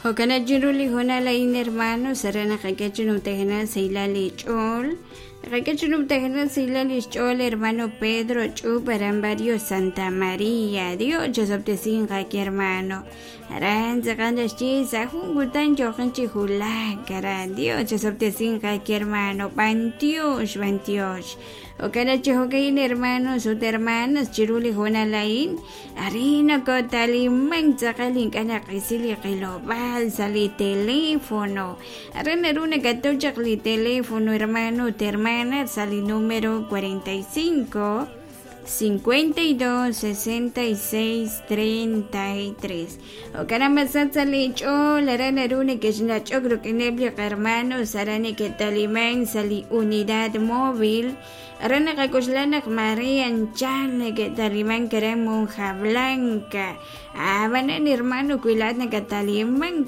Jo'kan chiru li hoonal a'in hermanos, aran naqak'e chi numtajenaq sahilal li ch'ool. Naqak'e chi numtajenaq sahilal li xch'ool hermano Pedro Ch'ub aran barrio Santa María. Dios chosob'tesinq aake hermano. Aran tz'aqal naxye sa' jun kutan yooqin chi wulak aran. Dios chosob'tesinq aake hermano. B'antiox, b'antiox. Jo'kan chi jo'ka'in hermanos ut hermanas chiru li hoonal a'in. Arin nokotalimank tz'aqal ink'a' naqisi li qilob'aal sa' li teléfono. Aran naru nakataw chaq li teléfono hermano ut hermana sa' li número 45 52 66 33. Jo'kan naq masach sa' li ch'ool aran naru nekexnach'ok rik'ineb' li qahermanos aran neke'talimank sa' li unidad móvil. Aran naqak'oxla naq maare anchal neke'talimank aran Monja Blanca. Ab'anan hermano wi laa'at nakatalimank.